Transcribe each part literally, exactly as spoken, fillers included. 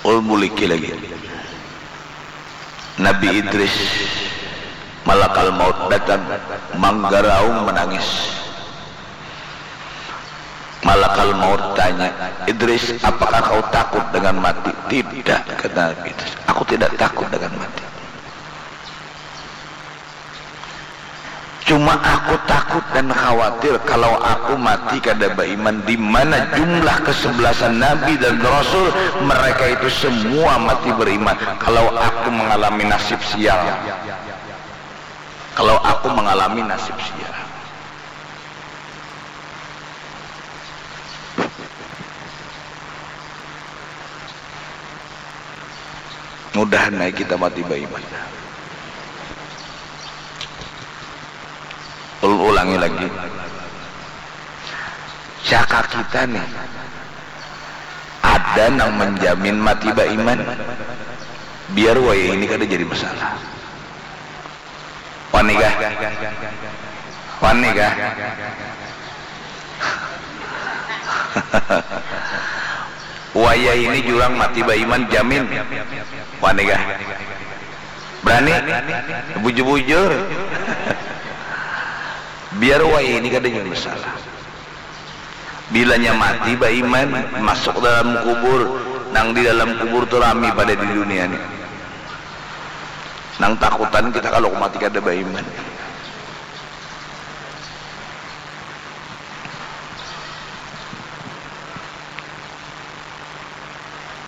Ulun buliki lagi. Nabi Idris, malakal maut datang, manggaraung manangis. Malakal maut tanya, "Idris, apakah kau takut dengan mati?" "Tidak," kata Nabi Idris, "aku tidak takut dengan mati. Cuma aku takut dan khawatir kalau aku mati kada baiman, di mana jumlah kesebelasan nabi dan rasul, mereka itu semua mati beriman. Kalau aku mengalami nasib sial, kalau aku mengalami nasib sial." Mudahan ai kita mati baiman. Ulun ulangi lagi. Siaka kita nih, ada nang menjamin mati baiman? Biar wayah ini kada jadi masalah. Wani kah? Wani kah? Wayah ini jurang mati baiman, jamin. Wani kah? Berani? Bujur-bujur. Biar wayah ini kada jadi masalah. Bilanya mati baiman, masuk dalam kubur, nang di dalam kubur tu rami pada di dunia ni. Nang takutan kita kalau mati kada baiman.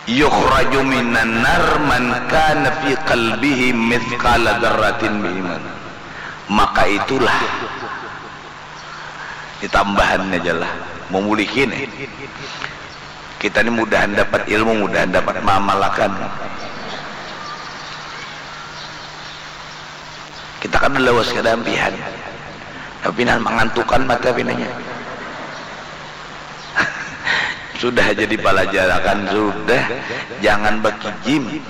Yukhraju minan nar man kana fi qalbihi mithqala dzarratin min iman. Maka itulah, ditambahan aja lah, memulihin eh. Kita ni mudahan dapat ilmu, mudahan dapat maamalakan. Kita kada lawas kada ampihan, tapi nah mangantukan mata pinanya. Sudah jadi palajarakan sudah, jangan bakijim.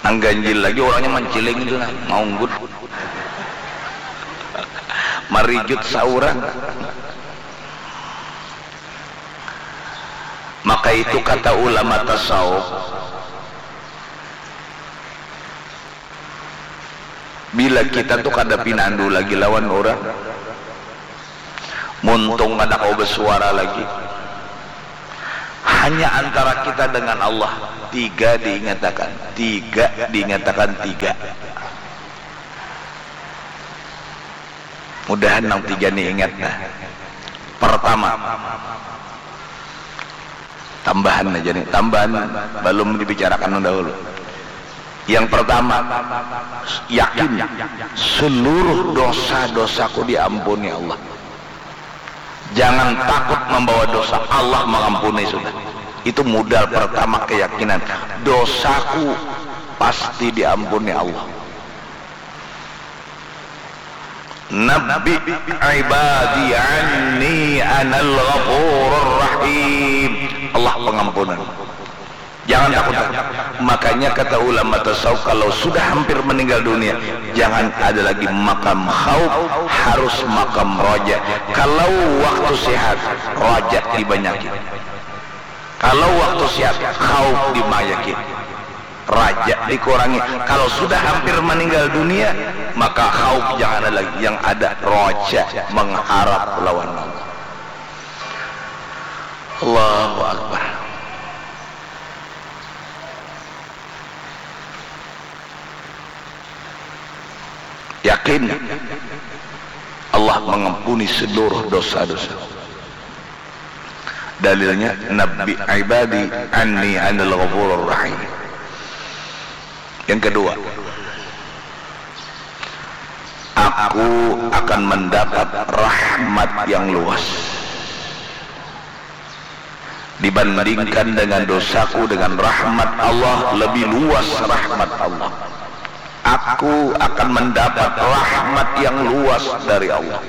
Nang ganjil lagi orangnya manciling itu nah, maunggut. Marijut saurang. Maka itu kata ulama tasawuf, bila kita tu kada pinandu lagi lawan urang, muntung kada kawa basuara lagi, hanya antara kita dengan Allah, tiga diingatakan, tiga diingatakan, tiga. Mudahan nang tiga ni ingat nah. Pertama, tambahan aja nih, tambahan balum dibicarakan dahulu. Yang pertama, yakin seluruh dosa-dosaku diampuni Allah. Jangan takut membawa dosa, Allah mengampuni sudah. Itu modal pertama, keyakinan dosaku pasti diampuni Allah. Nabbi ibadi anni anal ghafurur rahim. Allah pengampunan. Jangan takut. Makanya kata ulama tasawuf, kalau sudah hampir meninggal dunia, jangan ada lagi makam khauf, harus makam raja. Kalau waktu sehat, raja dibanyakin. Kalau waktu sehat, khauf dibanyakin. Raja dikurangi. Kalau sudah hampir meninggal dunia, maka khauf jangan ada lagi. Yang ada raja, mengharap lawan Allah. Allahu Akbar. Yakin Allah mengampuni seluruh dosa-dosa. Dalilnya, "Nabbi ibadi anni anal ghafurur rahim." Yang kedua, aku akan mendapat rahmat yang luas. Dibandingkan dengan dosaku, dengan rahmat Allah, lebih luas rahmat Allah. Aku akan mendapat rahmat yang luas dari Allah.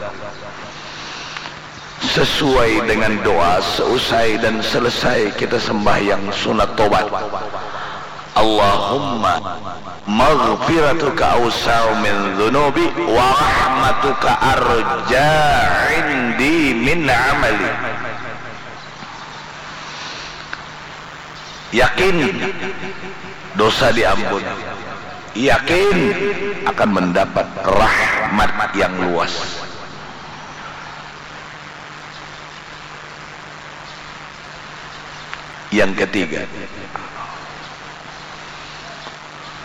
Sesuai dengan doa, seusai dan selesai kita sembahyang sunat tobat, Allahumma maghfiratuka awsa'u min dzunubi wa rahmatuka arja indi min amali. Yakin dosa diampun. Yakin akan mendapat rahmat yang luas. Yang ketiga,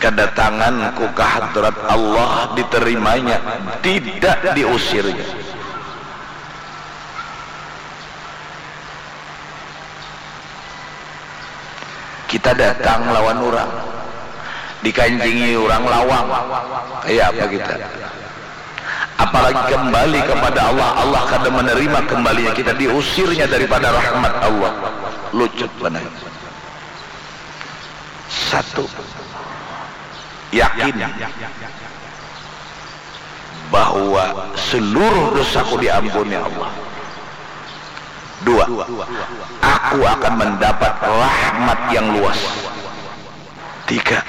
kedatanganku ke hadrat Allah diterimanya, tidak diusirnya. Kita datang lawan urang, dikancingi urang lawang, kaya apa kita? Apalagi kembali kepada Allah, Allah kada menerima kembalinya kita, diusirnya daripada rahmat Allah. Lucut banar. Satu, yakin bahwa seluruh dosaku diampuni Allah. Dua, aku akan mendapat rahmat yang luas. Tiga,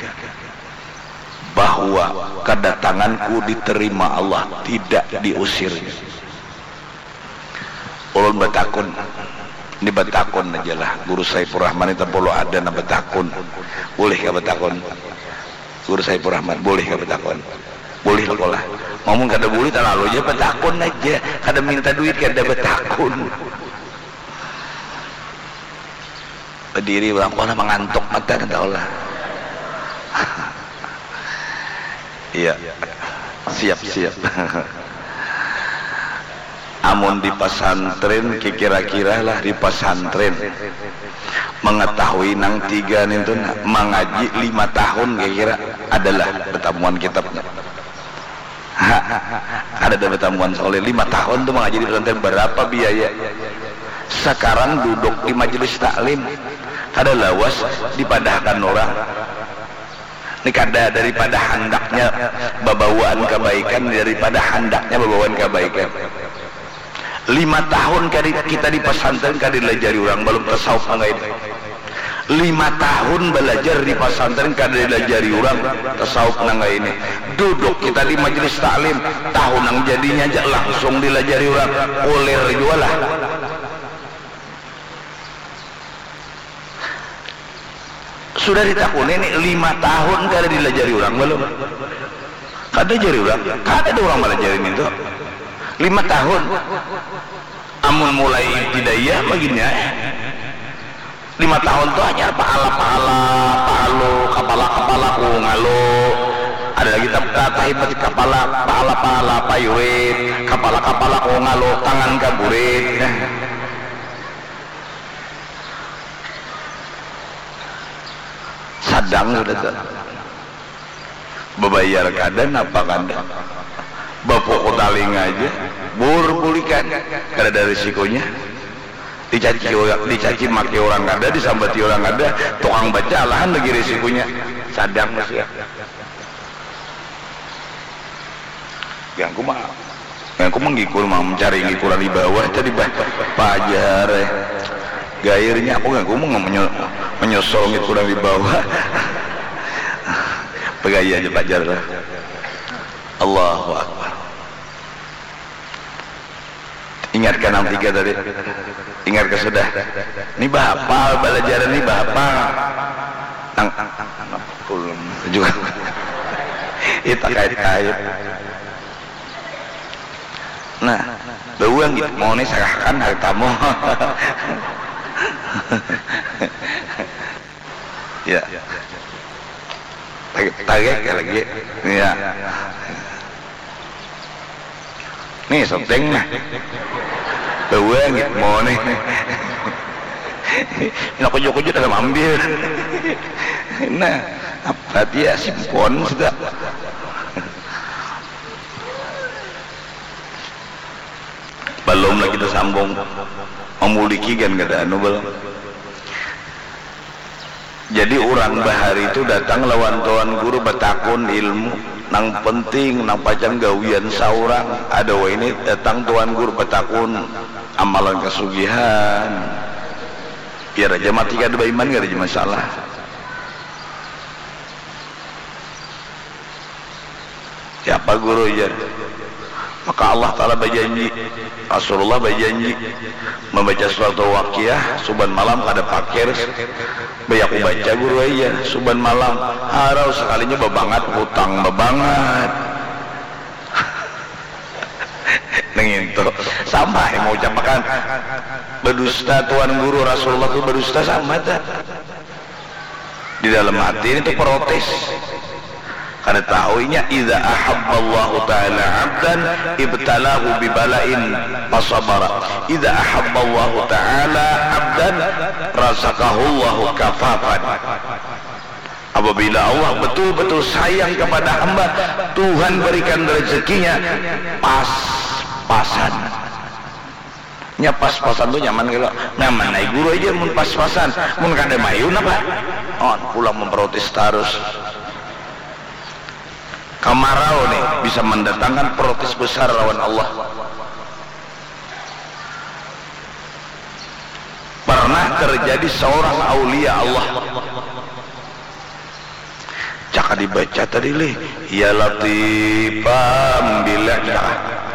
bahwa kedatanganku diterima Allah, tidak diusirnya. Ulun batakun, ini batakun aja lah, Guru Saifur Rahman ni tapulu ada nang batakun. Bulih kah batakun? Guru Saifur Rahman, bulih kah batakun? Bulih lah. Mun kada bulih, talalu ja batakun aja. Kada minta duit, kada batakun. Badiri urang, kok lah mangantuk mata, kada tahu lah. Iya. Siap, siap. Amun di pasantren, kira-kira lah di pasantren, mengetahui nang tiga nintu, nah, mangaji lima tahun kira-kira, adalah batamuan kitabnya. Ha, kadada batamuan Soleh. Lima tahun tu mangaji di pesantren, barapa biaya? Sakarang duduk di majelis taklim, kada lawas dipadahakan urang. Ni kada, daripada handaknya babawaan kabaikan, daripada handaknya babawaan kabaikan. Lima tahun kadi-, kita di pasantren kada dilajari urang, balum tasawuf nang kaya ini. Lima tahun balajar di pasantren kada dilajari urang tasawuf nang kaya ini. Duduk kita di majelis taklim, tahu nang jadinya ja langsung dilajari urang, kulir jua lah. Sudah ditakuni ni, lima tahun kada dilajari urang balum? Kada jari urang, kada ada urang malajari nintu. Lima tahun. Amun mulai ibtidaiyah, magini ai. Lima tahun tu hanyar pahala-pahala, pahalu, kapala-kapala, ku ngalu. Ada lagi tap-, ta-, tahibat kapala, pahala-pahala, payurit, kapala-kapala, ku ngalu, tangan kaburit. Sadang sudah tu. Babayar kada, napa kada. Bapuku talinga aja. Bur bulikan. Kada ada risikonya. Dicaci urang, dicaci maki urang kada, disambati urang kada. Tukang baca alahan lagi risikonya. Sadang masih. Ganggu mah. Aku manggikur, mang, mencari gikuran di bawah tadi, bah. Pajar, eh. Gairnya aku ganggu, mang, menyo-, menyosol gikuran di bawah. Pegaya aja pajar lah. Allahu Akbar. Ingat kan nang tiga tadi? Ingat ke sudah? Ini bahapal, belajaran ini bahapal. Nang, nang, nang, ulun juga. Kita kait-kait. Nah, bawang gitu, mau nih serahkan hartamu. Ya. Tarik, tarik ya lagi. Ya. Nih, seteng nah. Bawang gitu, mau nih. Nak kujuk-kujuk dalam ambil. Nah, apa dia simpon sudah. Balum lagi tasambung, mamuliki kan kada anu balum. Jadi urang bahari tu datang lawan tuan guru batakun ilmu nang penting, nang pacang gawian saurang. Ada wahini datang tuan guru batakun amalan kasugihan. Biar aja mati kada baiman, kada jadi masalah. Siapa guru, jar? Maka Allah Ta'ala bajanji, Rasulullah bajanji, membaca surat Al-Waqiah suban malam kada pakir, bayaku baca guru aja suban malam, harau sekalinya babangat hutang babangat. Nang itu sama yang mau ucapakan, berdusta Tuan Guru Rasulullah itu berdusta sama tak? Di dalam hati ini tuh protes. Kada tahu inya, idza ahabballahu ta'ala abdan ibtalahu bibalain fasabara. Idza ahabballahu ta'ala abdan razaqahullahu kafafan. Apabila Allah betul-betul sayang kepada hamba, Tuhan berikan rezekinya pas-pasan. Nya pas-pasan tu nyaman kalo. Nyaman ai guru aja mun pas-pasan. Mun kada mayu napa? On pulang memprotes tarus. Kamarau nih bisa mendatangkan protes besar lawan Allah. Pernah terjadi seorang aulia Allah. Caka dibaca tadi lih, ya Latifam billah.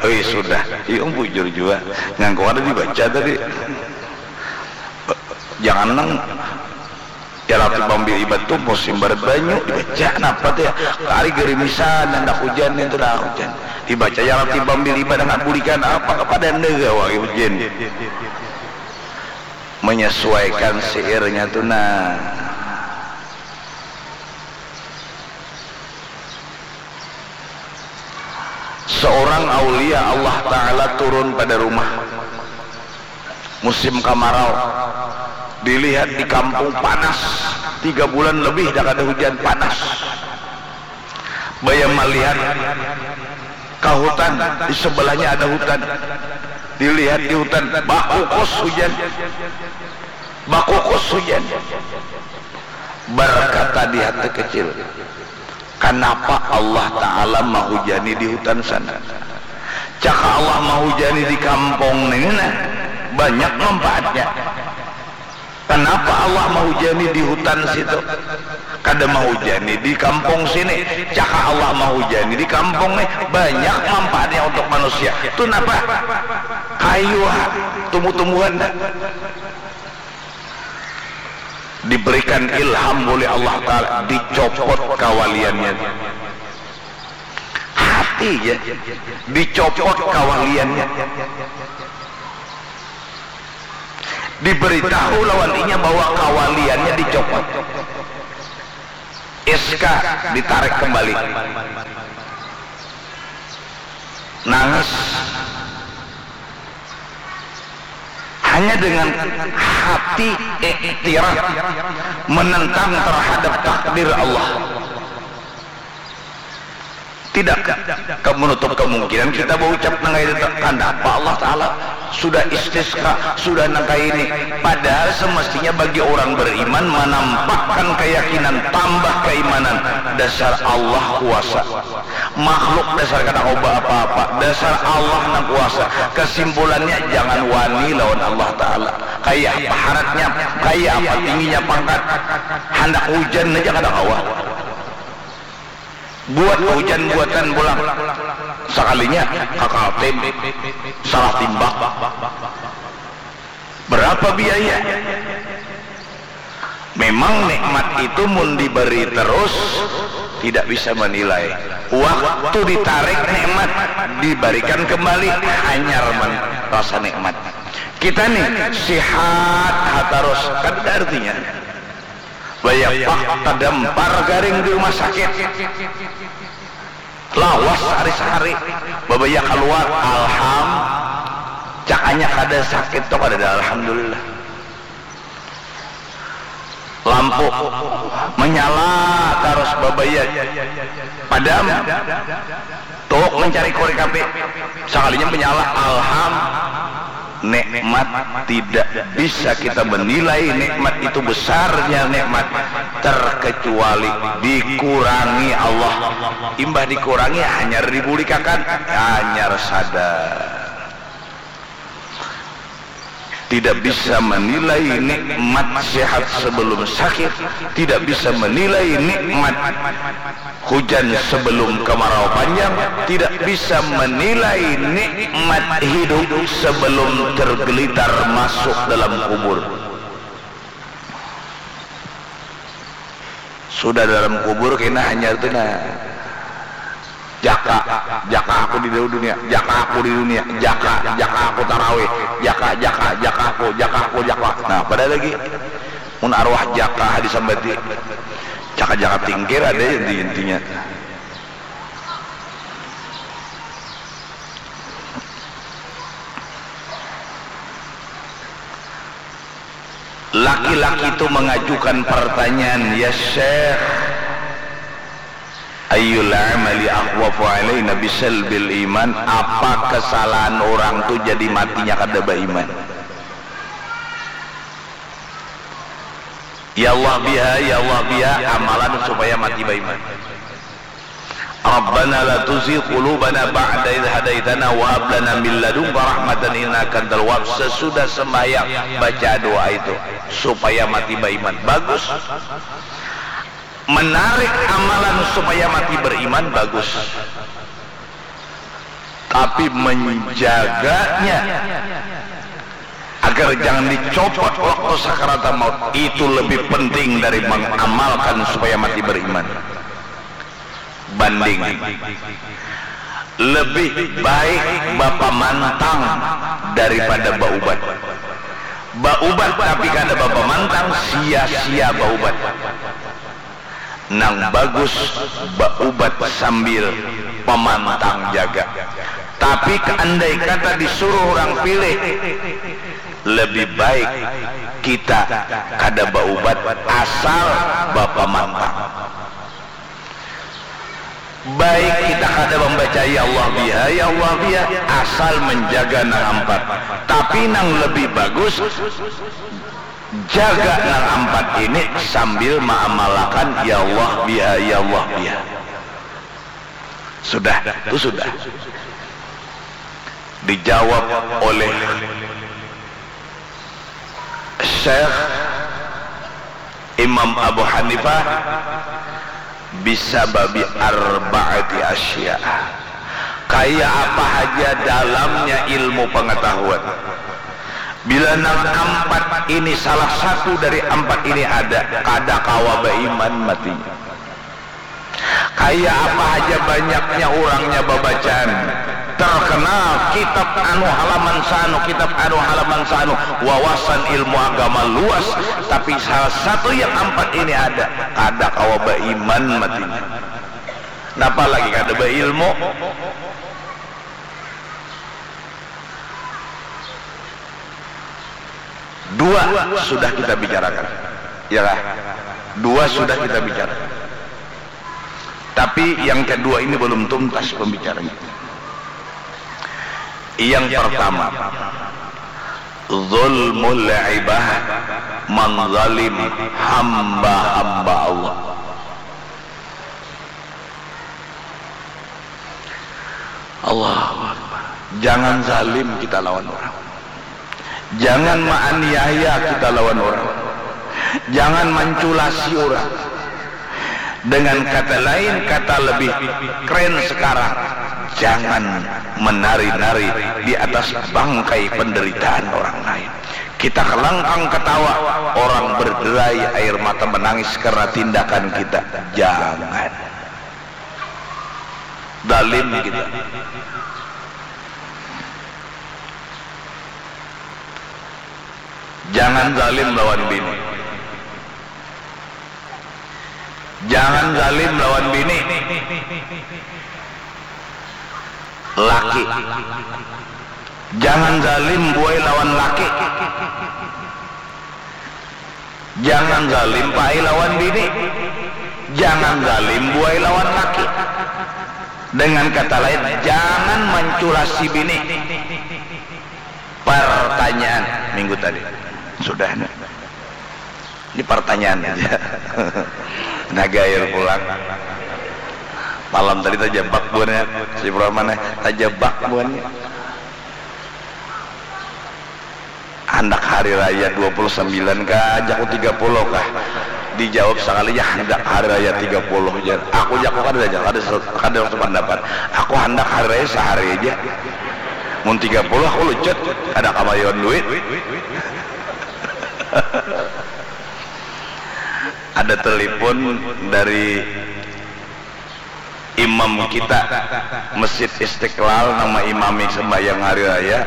Hei sudah, iya bujur jua. Ngangkung kada dibaca tadi. Jangan nang ya Latifam bil ibad tu musim barat banyu dibaca napa tu ya. Kari gerimisan handak hujan itu dah hujan. Dibaca ya Latifam bil ibad handak bulikan apa kepada anda gawa hujan. Menyesuaikan syairnya tu nah. Seorang aulia Allah Ta'ala turun pada rumah musim kamarau. Dilihat di kampung panas, tiga bulan lebih dah kada hujan, panas. Baya malihat ka hutan, di sebelahnya ada hutan. Dilihat di hutan, bakukus hujan. Bakukus hujan. Berkata di hati kecil, kanapa Allah Ta'ala mahujani di hutan sana? Caka Allah mahujani di kampung nini nah, banyak manfaatnya. Kanapa Allah mahujani di hutan situ? Kada mahujani di kampung sini. Caka Allah mahujani di kampung nih, banyak manfaatnya untuk manusia. Tu napa? Kayu ha, tumbuh-tumbuhan ha. Diberikan ilham oleh Allah Ta'ala, dicopot kawaliannya. Hati ja, dicopot kawaliannya. Diberitahu lawan inya bahwa kawaliannya dicopot. S K ditarik kembali. Nangis. Hanya dengan hati iktiraf menentang terhadap takdir Allah. Tidak ke-, menutup kemungkinan kita berucap nang kaya itu, kanapa Allah Ta'ala sudah istisqa, sudah nang kaya ini. Padahal semestinya bagi orang beriman menampakkan keyakinan, tambah keimanan. Dasar Allah kuasa. Makhluk dasar kada kawa baapa-apa, dasar Allah nang kuasa. Kesimpulannya, jangan wani lawan Allah Ta'ala. Kaya apa haratnya, kaya apa tingginya pangkat, handak hujan haja kada kawa. Buat hujan buatan pulang. Sakalinya ka Kaltim, salah timbak. Berapa biaya? Memang nikmat itu mun diberi terus tidak bisa menilai. Waktu ditarik nikmat, diberikan kembali, hanyar man-, rasa nikmat. Kita nih sihat ha tarus, kada ada artinya. Bayapak tadampar garing di rumah sakit. Lawas sahari-sahari, babaya kaluar, alham, cakanya kada sakit tu kadada, alhamdulillah. Lampu manyala tarus, babaya padam, tuuk mancari korek api, sakalinya manyala, alham. Nikmat tidak bisa kita menilai nikmat itu, besarnya nikmat, terkecuali dikurangi Allah. Imbah dikurangi, hanyar dibulikakan, hanyar sadar. Tidak bisa menilai nikmat sehat sebelum sakit, tidak bisa menilai nikmat hujan sebelum kemarau panjang, tidak bisa menilai nikmat hidup sebelum tergelitar masuk dalam kubur. Sudah dalam kubur kena hanyar tu nah. Jaka, jaka aku di dunia, jaka aku di dunia, jaka, jaka aku tarawih, jaka, jaka, jaka aku, jaka aku, jaka. Nah, pada lagi mun arwah jaka disambati, jaka-jaka tingkir ada inti-intinya. Laki-laki itu mengajukan pertanyaan, "Ya Syekh, ayyul amali akhwafu alaina bisalbil iman?" Apa kesalahan orang tu jadi matinya kada baiman? Ya Allah biha, ya Allah biha, amalan supaya mati baiman. Rabbana la tuzigh qulubana ba'da idh hadaitana wa hab lana min ladunka rahmatan innaka antal wahhab. Sesudah sembahyang, baca doa itu supaya mati baiman. Bagus. Menarik amalan supaya mati beriman, bagus. Tapi menjaganya agar jangan dicopot waktu sakaratul maut itu lebih penting dari mengamalkan supaya mati beriman. Banding. Lebih baik bapamantang daripada baubat. Baubat tapi kada bapamantang, sia-sia baubat. Nang bagus baubat sambil pamantang jaga. Tapi andai kata disuruh urang pilih, lebih baik kita kada baubat asal bapamantang. Baik kita kada mambaca ya Allah biha, ya Allah biha, asal menjaga nang ampat. Tapi nang lebih bagus, jaga nang ampat ini sambil maamalakan ya Allah biha, ya Allah biha. Sudah, tu sudah. Dijawab oleh Syekh Imam Abu Hanifah, "Bisababi arba'ati asya." Kaya apa haja dalamnya ilmu pengetahuan. Bila nang ampat ini, salah satu dari ampat ini ada, kada kawa baiman matinya. Kaya apa haja banyaknya urangnya babacaan, terkenal kitab anu halaman saanu, kitab anu halaman saanu, wawasan ilmu agama luas, tapi salah satu yang ampat ini ada, kada kawa baiman matinya. Napa lagi kada bailmu? Dua sudah kita bicarakan, ya kah? Dua sudah kita bicarakan. Tapi yang kedua ini belum tuntas pembicaranya. Yang pertama, zulmul ibad, mengzalim hamba-hamba Allah. Allahu Akbar. Jangan zalim kita lawan orang. Jangan maaniaya kita lawan orang. Jangan manculasi orang. Dengan kata lain, kata lebih keren sekarang, jangan menari-nari di atas bangkai penderitaan orang lain. Kita kelangkang ketawa, orang berderai air mata menangis karena tindakan kita. Jangan. Zalim kita. Jangan zalim lawan bini. Jangan zalim lawan bini. Laki. Jangan zalim buai lawan laki. Jangan zalim pai lawan bini. Jangan zalim buai lawan laki. Dengan kata lain, jangan manculasi bini. Pertanyaan minggu tadi. Sudah nih. Ini pertanyaan aja. Nah, gair pulang. Malam tadi tajabak buhannya. Si Brahman, eh, tajabak buhannya. Handak hari raya dua puluh sembilan kah, jaku tiga puluh kah? Dijawab sakalinya, handak hari raya tiga puluh, jar. Aku, jaku, kada, kada, kada sependapat. Aku handak hari raya sehari aja. Mun tiga puluh aku lucut, kada kamayuan duit. Ada telepon dari imam kita, Masjid Istiqlal, nang maimami sembahyang hari raya.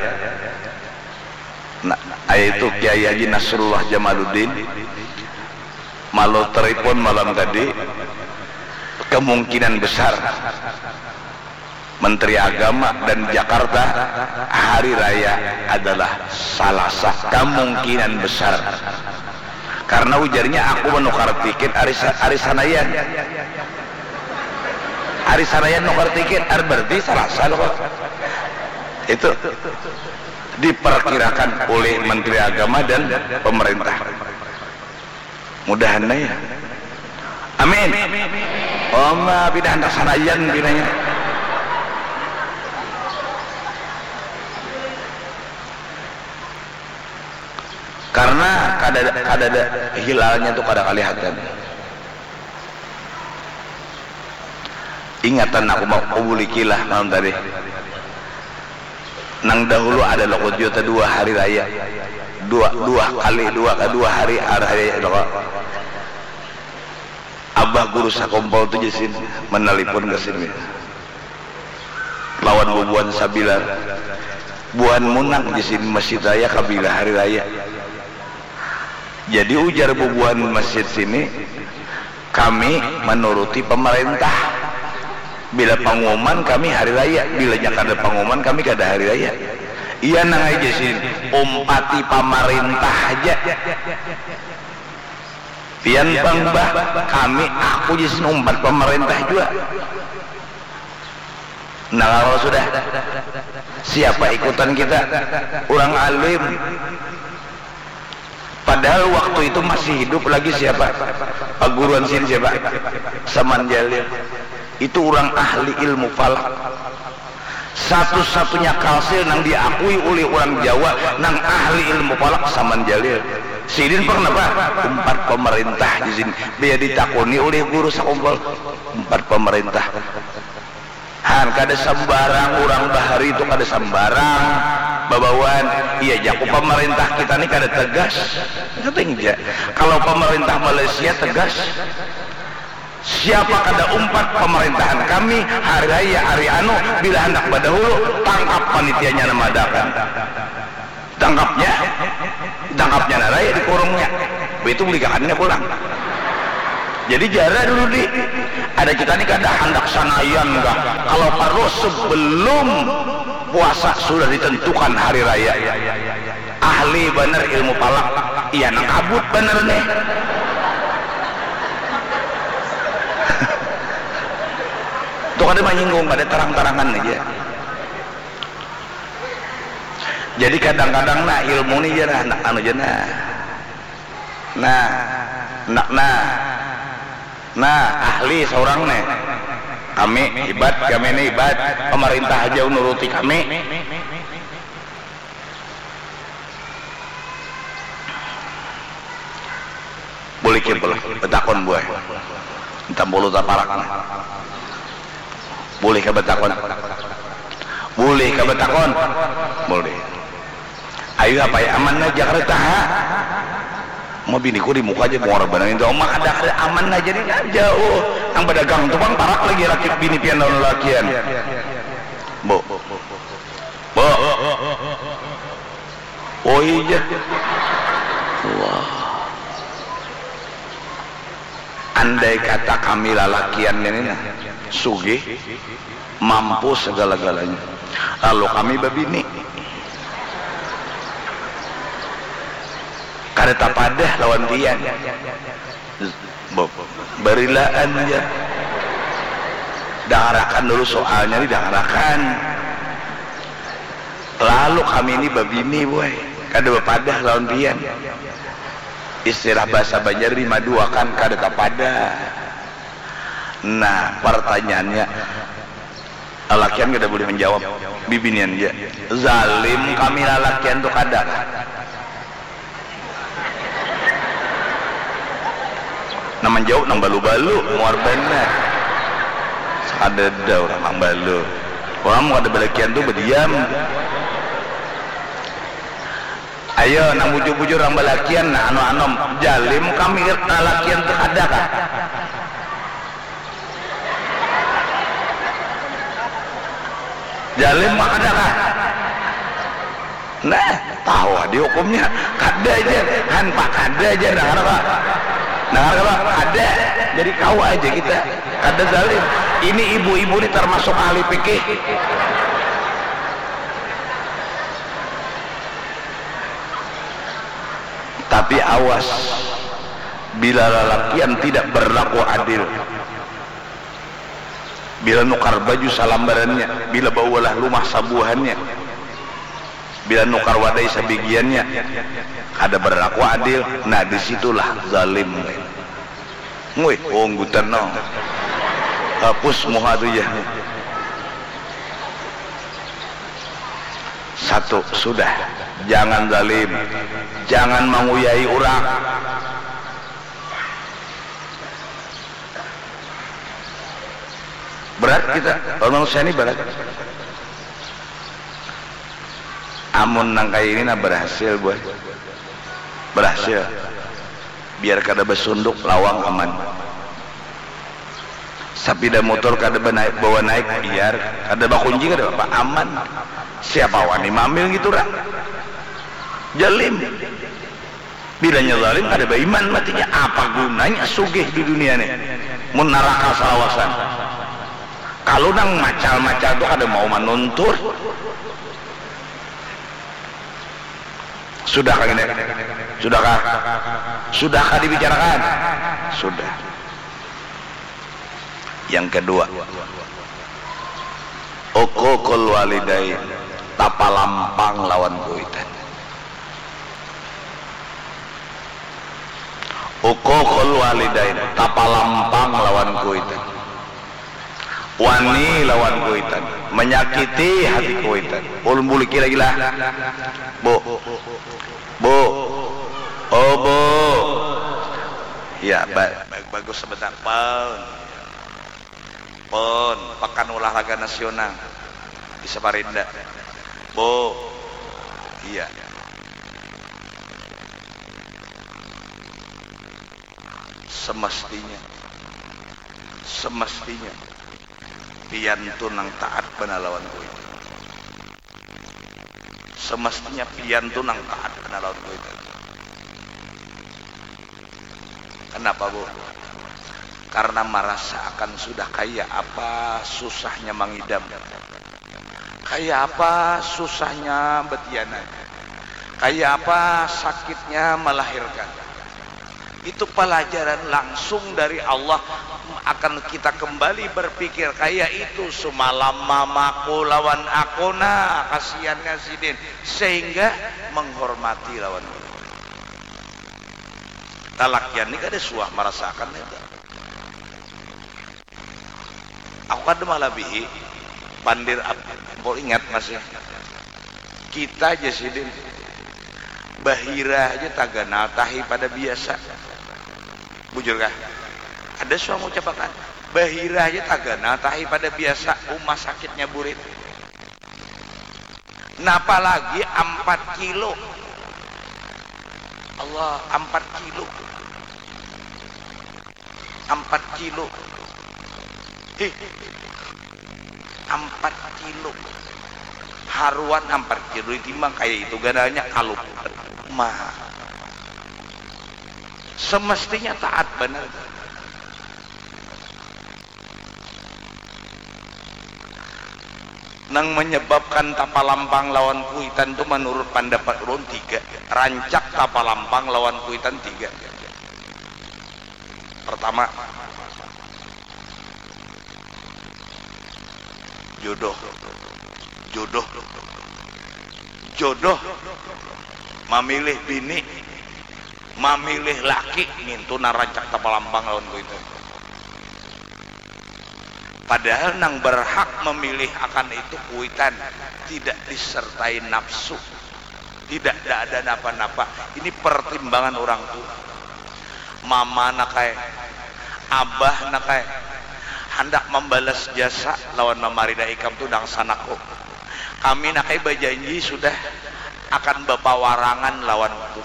Nah, yaitu Kiai Haji Nasrullah Jamaluddin, malu telepon malam tadi. Kemungkinan besar Menteri Agama dan Jakarta hari raya adalah Salasa, kemungkinan besar. Karena ujarnya, aku menukar tiket hari Sa-, hari Sanayan. Hari Sanayan nukar tiket, ar-, berarti Salasa loh. Itu diperkirakan oleh Menteri Agama dan pemerintah. Mudahan ya. Amin. Oma, pindah handak Sanayan, pindahnya. Karena kada, kada ada hilalnya tuh, kada kelihatan. Ingatan aku mau kubulikilah malam tadi. Nang dahulu ada lokot juta dua hari raya. Dua, dua kali, dua, dua hari, hari raya lokot. Abah guru sakumpul tu jasin menelpon ke sini. Lawan bubuhan sabilar. Buhan munang jasin masjid raya kabila hari raya. Jadi ujar bubuhan masjid sini, kami menuruti pemerintah. Bila pengumuman kami hari raya, bilanya kada pengumuman kami kada hari raya. Iya nang aja sini, umpati pemerintah aja. Pian pang bah, kami aku jasin umpat pemerintah jua. Nah, kalau sudah, siapa ikutan kita? Urang alim. Padahal waktu itu masih hidup lagi siapa? Paguruan sin siapa? Saman Jalil. Itu urang ahli ilmu falak. Satu-satunya kalsil nang diakui ulih urang Jawa nang ahli ilmu falak Saman Jalil. Sidin pang napa? Umpat pemerintah di sini. Biar ditakuni ulih guru sakumpul. Umpat pemerintah. Han, kada sambarang urang bahari tu, kada sambarang babawaan. Iya jaku pamarintah kita ni kada tegas. Kada ja. Kalau pamarintah Malaysia tegas, siapa kada umpat pamarintahan kami, hari raya, hari anu, bila handak badahulu, tangkap panitianya nang maadakan. Tangkapnya, tangkapnya nara ya dikurungnya. Bitu buligakannya pulang. Jadi jara dulu di, ada kita ni kada handak sanayan kah. Kalau parlu sebelum puasa sudah ditentukan hari raya. Ahli banar ilmu palak, iya nang kabut banar nih. Tuh kada manyinggung, kada tarang-tarangan aja. Jadi kadang-kadang nah ilmu ni jar handak anu ja nah. Nah, handak nah. Nah, ahli saurang nih. Kami hibat, kami ni hibat. Pamarintah haja nuruti kami. Bulih kah, bulih. Batakun buai. Minta bulu taparak. Bulih kah batakun? Bulih kah batakun? Bulih. Ayu apa ya, aman aja kada taha. Mau biniku di muka aja bongor banar itu. Oma kada, kada aman aja nih, nah, jauh. Nang badagang tu pang parak lagi laki bini pian lawan lalakian. Bu. Bu. Oi jar. Wah. Andai kata kami lalakian ini nah, sugih, mampu segala-galanya. Lalu kami babini. Kada tapadah lawan pian. Be-, barilaan ja. Dangarakan dulu soalnya ni, dangarakan. Lalu kami ni babini, boy. Kada bapadah lawan pian. Istilah bahasa Banjar dimaduakan, kada tapadah. Nah, pertanyaannya, lalakian kada boleh menjawab, bibinian ja. Zalim kami lalakian tu kada. Manjawab nang balu-balu, muar banar. Sakadada urang nang balu. Urang mun kada balakian tu badiam. Ayo nang bujur-bujur nang balakian, nah anu-anum, jalim kami lalakian tu kada kah? Jalim mah kada kah? Nah, tahu adi hukumnya. Kada ja, han pa kada ja, dangar apa? Dangar apa? Kada. Jadi kawa aja kita. Kada zalim. Ini ibu-ibu ni termasuk ahli fikih. Tapi awas, bila lalakian tidak berlaku adil, bila nukar baju salambarannya, bila baulah lumah sabuahannya, bila nukar wadai sabigiannya, kada berlaku adil, nah disitulah zalim. Nguih, unggutan no. Hapus muha tu ja. Satu, sudah. Jangan zalim. Jangan manguyai urang. Berat kita, lawan manusia ni berat. Amun nang kaya ini nah berhasil, boy. Berhasil. Biar kada basunduk, lawang aman. Sapida motor kada banaik, bawa naik, biar kada bakunci, kada apa, aman. Siapa wani maambil ngitu, ra? Jalim. Bilanya zalim kada baiman matinya, apa gunanya sugih di dunia ni mun naraka salawasan. Kalu nang macal-macal tu kada mau manuntut. Sudahkah ini? Sudahkah? Sudahkah dibicarakan? Sudah. Yang kedua, uququl walidain, tapalampang lawan kuitan. Uququl walidain, tapalampang lawan kuitan. Wani lawan kuitan, manyakiti hati kuitan. Ulun buliki lagi lah. Bu. Bu. Oh, Bu. Ya, ba-, ba-, bagus sebentar. Pun. Pun, Pakan Olahraga Nasional di Samarinda. Bu. Iya. Semestinya, semestinya pian tu nang taat banar lawan kuitan. Semestinya pian tu nang taat banar lawan kuitan. Kenapa, Bu? Karena marasa akan sudah kaya apa susahnya mangidam. Kaya apa susahnya batianak, kaya apa sakitnya malahirkan. Itu palajaran langsung dari Allah, akan kita kembali berpikir, kaya itu sumalam mamaku lawan aku, nah, kasiannya sidin, sehingga menghormati lawan aku. Lalakian ni kada suah marasakan itu. Aku kada malabihi pandir ap-, ampun ingat masih. Kita ja sidin. Bahira aja taganal tahi pada biasa. Bujur kah? Ada suang ucapakan. Bahira aja taganal tahi pada biasa. Uma sakitnya burit. Napa lagi ampat kilo. Allah, ampat kilo. Ampat kilo. Hih. Ampat kilo. Haruan ampat kilo ditimbang kaya itu ganalnya kalu. Maha. Semestinya taat banar. Nang menyebabkan tapalampang lawan kuitan tu menurut pendapat ulun tiga. Rancak tapalampang lawan kuitan tiga. Pertama, jodoh. Jodoh. Jodoh. Mamilih bini, mamilih laki, ngintu nang rancak tapalampang lawan kuitan. Padahal nang berhak memilih akan itu kuitan, tidak disertai nafsu, tidak, tidak ada napa-napa. Ini pertimbangan orang tua. Mama nak ai, Abah nak ai, handak mambalas jasa lawan mamarida ikam tu dangsanakku. Kami nak ai bajanji sudah akan bapawarangan lawan hukum.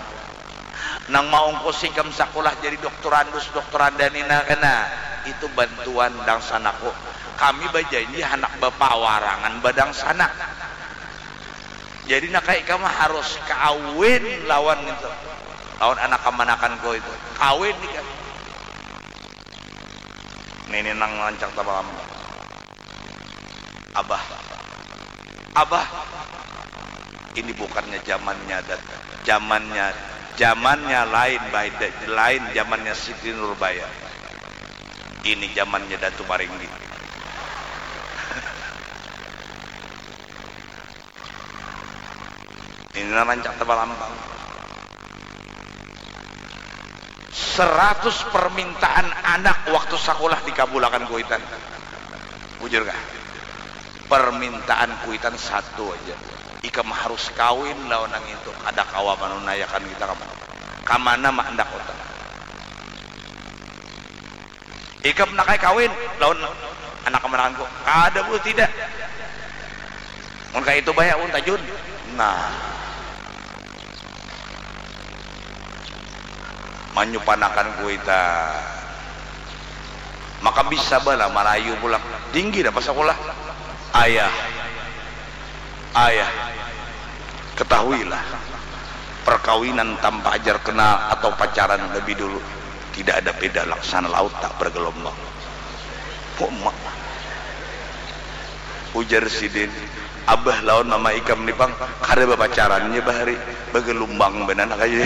Nang maungkus ikam sakulah jadi doktorandus doktoranda nina kena, itu bantuan dangsanakku. Kami bajanji handak bapawarangan badangsanak. Jadi nak ai ikam harus kawin lawan itu, lawan anak kamanakanku itu. Kawin ikam. Nini nang rancak tabalam. Abah, abah, ini bukannya zamannya dat, zamannya, zamannya lain, lain zamannya Siti Nurbaya. Ini zamannya Datu Maringgi. Ini nang rancak tabalampang. Seratus permintaan anak waktu sakulah dikabulakan kuitan. Bujur kah? Permintaan kuitan satu aja. Ikam harus kawin lawan nang itu. Kada kawa manunayakan kita kamana. Kamana ma andak utak. Ikam nak ai kawin lawan anak kamanakanku. Kada bu, tidak. Mun kaya itu baya un tajun. Nah. Manyupanakan kuita. Maka bisa bala marayu pulang. Tinggi dah pasakulah. Ayah. Ayah, ketahuilah, perkawinan tanpa ajar kenal atau pacaran lebih dulu tidak ada beda laksana laut tak bergelombang. Uma. Ujar sidin, abah lawan mama ikam ni pang kada bapacarannya bahari, bagelumbang banar kaya.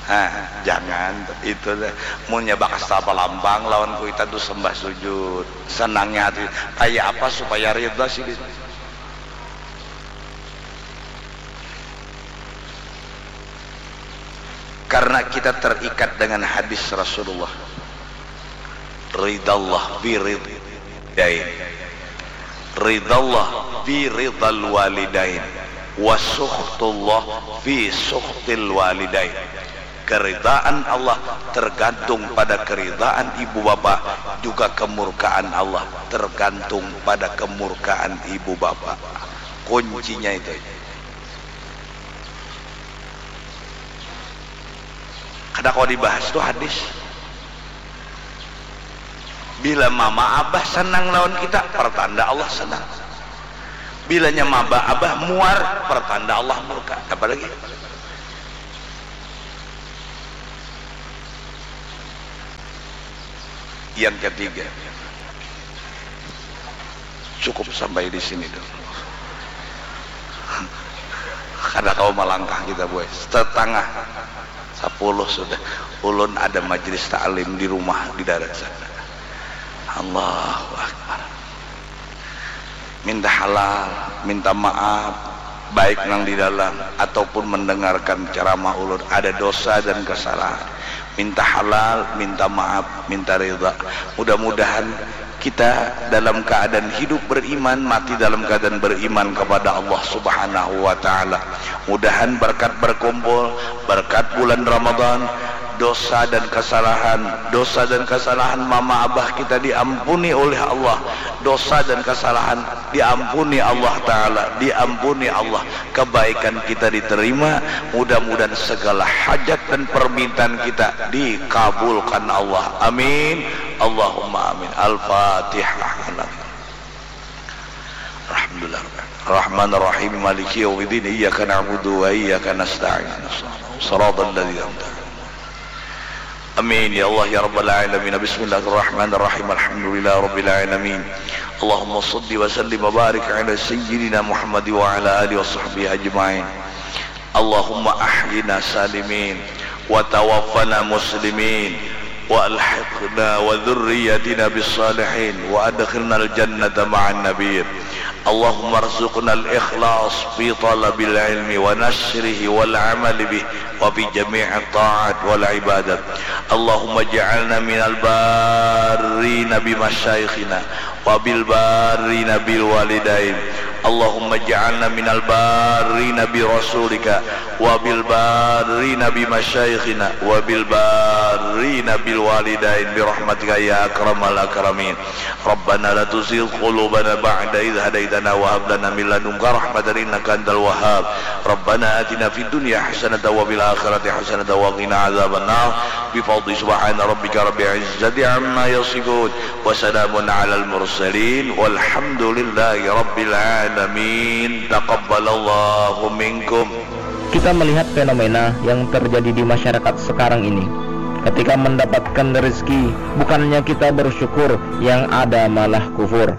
Hah, jangan itu deh. Munnya bakas tapalampang lawan kuitan tu sembah sujud. Senangnya hati, kaya apa supaya ridha sidin? Karena kita terikat dengan hadis Rasulullah. Ridallah bi ridal walidain. Ridallah fi ridal walidain wa sukhtullah fi sukhtil walidain. Keridaan Allah tergantung pada keridaan ibu bapa, juga kemurkaan Allah tergantung pada kemurkaan ibu bapa. Kuncinya itu. Kada kawa dibahas tu hadis. Bila mama abah sanang lawan kita, pertanda Allah sanang. Bilanya mama abah muar, pertanda Allah murka. Apa lagi? Yang ketiga, cukup sampai di sini dulu. Kada kawa malangkah kita, boy. Setengah sepuluh sudah. Ulun ada majlis taklim di rumah di darat sana. Allahu Akbar. Minta halal, minta maaf, baik nang di dalam ataupun mendengarkan ceramah ulun, ada dosa dan kesalahan. Minta halal, minta maaf, minta ridha. Mudah-mudahan kita dalam keadaan hidup beriman, mati dalam keadaan beriman kepada Allah Subhanahu wa Ta'ala. Mudahan berkat berkumpul, berkat bulan Ramadan, dosa dan kesalahan, dosa dan kesalahan mama abah kita diampuni oleh Allah. Dosa dan kesalahan diampuni Allah Ta'ala, diampuni Allah. Kebaikan kita diterima, mudah-mudahan segala hajat dan permintaan kita dikabulkan Allah. Amin. Allahumma amin. Al-Fatihah. Alhamdulillah. Rahman Rahim, Maliki Yawmiddin, Iyyaka na'budu wa iyyaka nasta'in. Siratal ladzina an'amta alaihim. Amin ya Allah ya Rabbal alamin. Bismillahirrahmanirrahim. Alhamdulillah rabbil alamin. Allahumma salli wa sallim wa barik ala sayyidina Muhammad wa ala alihi wa sahbihi ajmain. Allahumma ahyina salimin wa tawaffana muslimin wa alhiqna wa dzurriyyatina bis salihin wa adkhilnal jannata ma'an nabiyyin. Allahumma rzuqnal ikhlas fi talabil ilmi wa nashrihi wal amali bih wa fi jami'it ta'at wal ibadat. Allahumma ja'alna minal barrina bi masyayikhina wa bil barrina bil walidain اللهم اجعلنا من البارين برسولك وبالبارين بمشايخنا وبالبارين بالوالدين برحمتك يا أكرم الأكرمين. ربنا لا تزغ قلوبنا بعد إذ هديتنا وهب لنا من لدنك رحمة إنك أنت الوهاب. ربنا آتنا في الدنيا حسنة وفي الآخرة حسنة وقنا عذاب النار. بفضل سبحان ربك رب العزة عما يصفون. وسلام على المرسلين والحمد لله رب العالمين. تقبل الله منكم. Kita melihat fenomena yang terjadi di masyarakat sekarang ini. Ketika mendapatkan rezeki, bukannya kita bersyukur, yang ada malah kufur.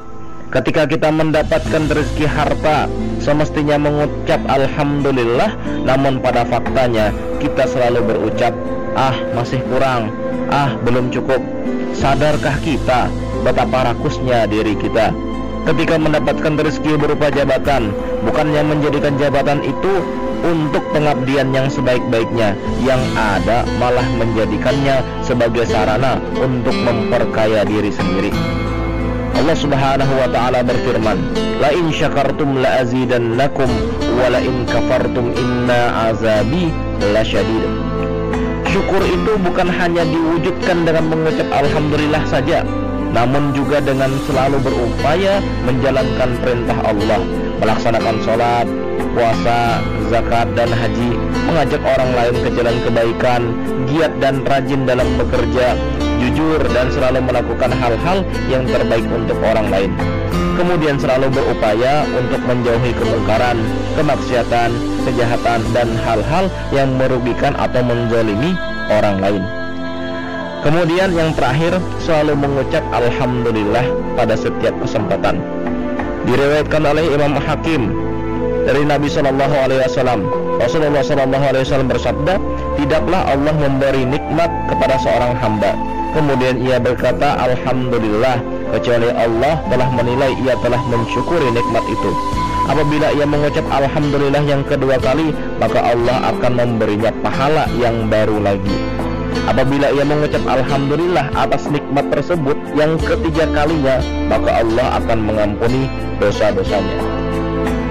Ketika kita mendapatkan rezeki harta, semestinya mengucap alhamdulillah, namun pada faktanya kita selalu berucap, "Ah, masih kurang. Ah, belum cukup." Sadarkah kita betapa rakusnya diri kita? Ketika mendapatkan rezeki berupa jabatan, bukannya menjadikan jabatan itu untuk pengabdian yang sebaik-baiknya, yang ada malah menjadikannya sebagai sarana untuk memperkaya diri sendiri. Allah Subhanahu wa taala berfirman, "La in syakartum la azidannakum wa la in kafartum inna azabi lasyadid." Syukur itu bukan hanya diwujudkan dengan mengucap alhamdulillah saja, namun juga dengan selalu berupaya menjalankan perintah Allah, melaksanakan sholat, puasa, zakat, dan haji, mengajak orang lain ke jalan kebaikan, giat dan rajin dalam bekerja, jujur dan selalu melakukan hal-hal yang terbaik untuk orang lain. Kemudian selalu berupaya untuk menjauhi kemungkaran, kemaksiatan, kejahatan, dan hal-hal yang merugikan atau menzalimi orang lain. Kemudian yang terakhir, selalu mengucap alhamdulillah pada setiap kesempatan. Diriwayatkan oleh Imam Hakim dari Nabi Shallallahu Alaihi Wasallam, Rasulullah Shallallahu Alaihi Wasallam bersabda, "Tidaklah Allah memberi nikmat kepada seorang hamba, kemudian ia berkata, 'Alhamdulillah,' kecuali Allah telah menilai ia telah mensyukuri nikmat itu. Apabila ia mengucap alhamdulillah yang kedua kali, maka Allah akan memberinya pahala yang baru lagi. Apabila ia mengucap alhamdulillah atas nikmat tersebut yang ketiga kalinya, maka Allah akan mengampuni dosa-dosanya."